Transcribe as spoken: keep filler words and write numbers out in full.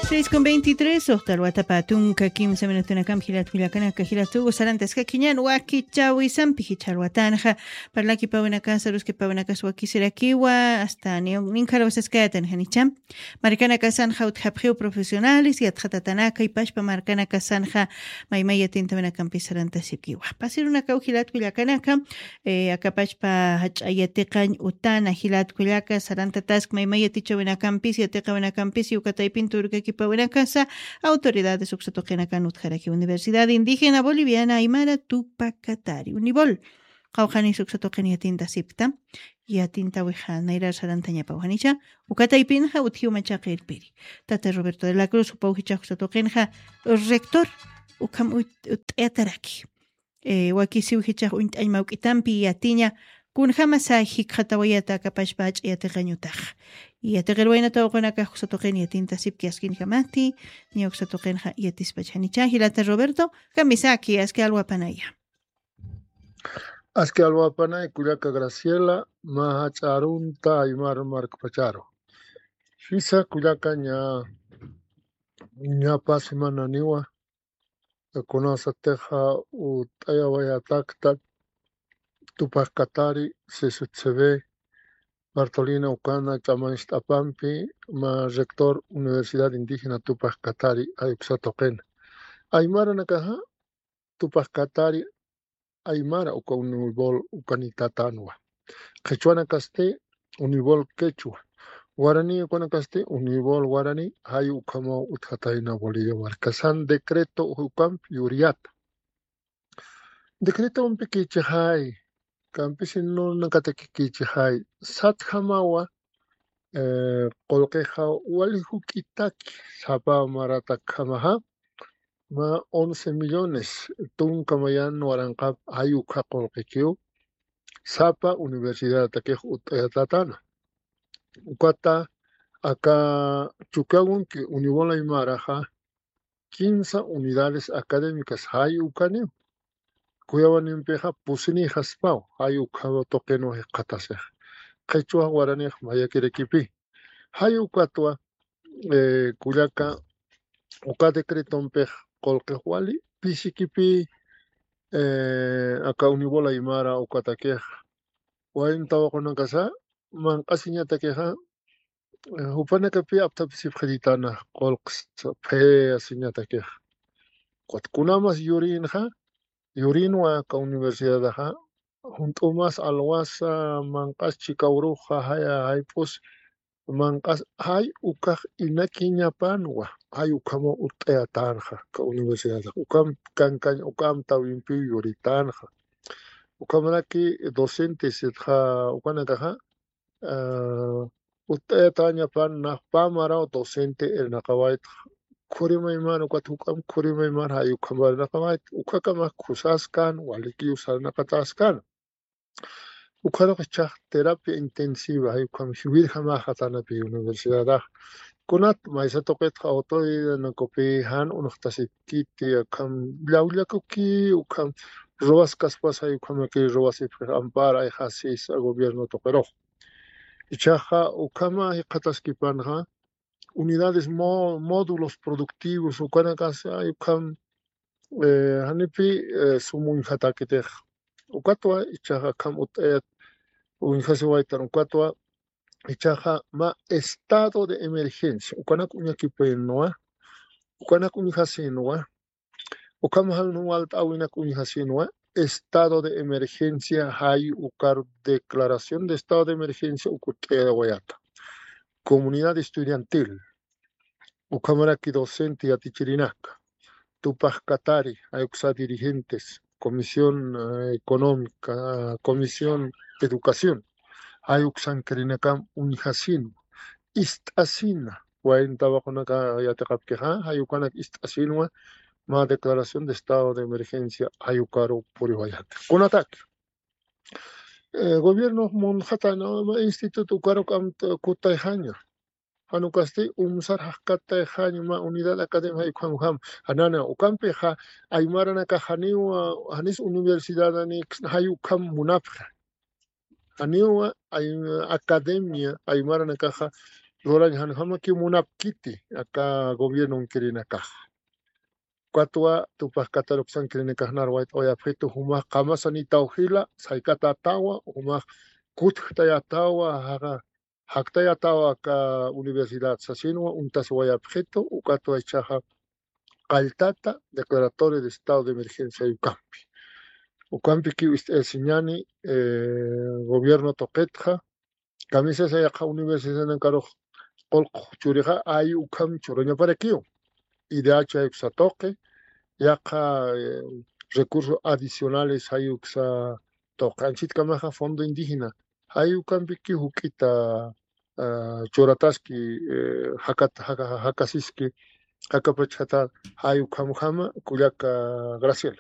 Seis con veintitrés, uxta alwatapa tunka kimsa minutunakampi jilat kullakanaka, jilat ugu sarantaskakiñan wakichawisampi jichha alwatanxa, parlakipäwinakasa, aruskipawinakasa wakisirakiwa, hasta ninkharawsaskayatan janicha. Markanakasanxa utjapxiw profesionales, yatxatatanaka, ipashpa markanakasanxa maymay yatintawinakampis sarantasipkiwa. Pasirunakaw jilat kullakanaka, eh, akapachpa jach'a yatiqañ utana jilat kullaka, sarantatask maymay yatichawinakampis, yatiqawinakampis, ukataypin turkakipawinakasa, autoridades uksa tuqinakan utjaraki Universidad Indígena Boliviana Aymara Tupac Katari, UNIBOL. Qawqhanis uksa tuqin yatintasipkta, yatintawixa nayrar sarantañapaw janicha, ukataypinxa utjiw machaqa irpiri. Tata Roberto de la Cruz, jupaw jichhax uksa tuqinxa rector, ukham ut-, utt'ayataraki. Eh, wakisiw jichhax uñt'añ mawk'itampi yatiña, kunjamasa jikxatawayata akapachpa jach'a yatiqañ utaxa. Yatiqir wayna tawaqunakax uksa tuqin yatintasipki askinjamati, niya uksa tuqinxa yatispach janicha, jilata Roberto, kamisaki, aski alwapanaya. Aski alwapanay kullaka Graciela, mä jach'a arunta aymar markpacharu. Jisa kullaka ña, ña pä semananiwa, kunasatixa utt'ayawayatakta Tupac Katari, C C C B, Bartolina ukana ch'amañcht'apampi, mä rector Universidad Indígena Tupac Katari, jay uksa tuqina. Aymaranakaxa, Tupac Katari aymara uka UNIBOL ukanitatänwa. Qhichwanakasti UNIBOL quechua. Guarani ukanakasti UNIBOL guarani, jay ukhamaw utjatayna Bolivia markasan decreto ukampi yuriyata. Decretompi kichixay, campesinunatakix kichixay, satjamawa, eh, qullqixa wali juk'itaki, sapa maratakjamaxa, mä once millones tunka mayan waranqap jay ukha qullqikiw, sapa universidadatakix utt'ayatatana. Ukata aka Chukiyawu UNIBOL aymaraxa, kimsa unidades académicas jay ukaniw. Cuyawanimpixa pusinïxaspaw, jay ukhaw tuqinwa jikxatasixa. Qhichwa guaranix mayakirakipi. Jay ukatwa, eh, kullaka, uka decretompix qullqix wali pisikipi, eh, aka UNIBOL aymara ukatakix. Wayn tawaqunakasa, manq'asiñatakixa, eh, jupanakapi apthapisipxiritana qullqis phayasiñatakix. Ukat kunamas yurinxa, yurinwa aka universidadaxa, junt'umas alwasa, manq'as chika uruxa, jaya, jayp'us, manq'as, jay ukax inakiñapanwa, jay ukhamaw utt'ayatänxa, aka universidadax, ukam kankañ, uka amtäwimpiw yuritänxa. Ukhamaraki docentes, sitxa ukanakaxa, ah, utt'ayatäñapan nax pä maraw docente irnaqawayta, khurimaymar, ukat juk'amp khurimaymar jay ukham irnaqawayta, ukhakamax khusaskan, walikiw sarnaqataskan. Ukharux jichhax terapia intensiva, jay ukham jiwirjamäxatanapi universidadax. Kunat maysa tuqitxa autoridadanakupi jan uñjtasipkiti, akham llawllakuki, ukham ruwaskaspas jay ukhamaki ruwasipxi ampara ayxasis gobierno tuqirux. Jichhaxa ukhama jikxataskipanxa, unidades mo-, módulos productivos, ukanakasa jay ukham, eh, janipi, eh, sum uñjatakitix. Ukatwa, jichhaxa akham utt'ayat uñjasiwaytan, ukatwa, jichhaxa mä estado de emergencia, ukanak uñakipinwa, ukanak uñjasinwa, ukham jan walt'äwinak uñjasinwa, estado de emergencia, jay ukar declaración de estado de emergencia uk utt'ayawayata. Comunidad estudiantil, ukhamaraki docente yatichirinaka, Tupac Katari, jay uksa dirigentes, Comisión, eh, Económica, Comisión Educación, jay uksankirinakam uñjasinwa, ist'asina, wayn tawaqunaka yatiqapkixa, jay ukanak ist'asinwa, mä declaración de estado de emergencia, jay ukaru puriwayata. Kunataki, eh, gobierno munxatana, mä instituto ukaruk amta kutayxaña. Jan ukasti umsar jaqkatayxaña mä unidad académica jay ukham ukham. Janana, ukampixa aymaranakax janiw, janis universidadani jay ukham munapxi. Janiw ay-, academia aymaranakaxa lurañ janjamakiw munapkiti aka gobiernon kirinakax. Ukatwa tupax kataruksan kirinakax narwayt'awayapxitu jumax qamasanitaw jila saykatatawa jumax kutjtayatawa jaqa jaktayatawa aka universidad sasinwa untasiwayapxitu ukatwa ichaxa qalltata declaratoria de estado de emergencia ukampi. Ukampikiw ist'ayasiñani gobierno tuqitxa kamisasa yaqha universidadnankarux qulqu churixa ay ukham churañaparakiw. Idh jay uksa tuqi yaqha recursos adicionales jay uksa tuqi anchitkamaxa fondo indígena jay ukampiki juk'ita churataski jakasiski jakapachata jay ukhamjama kullaka Graciel.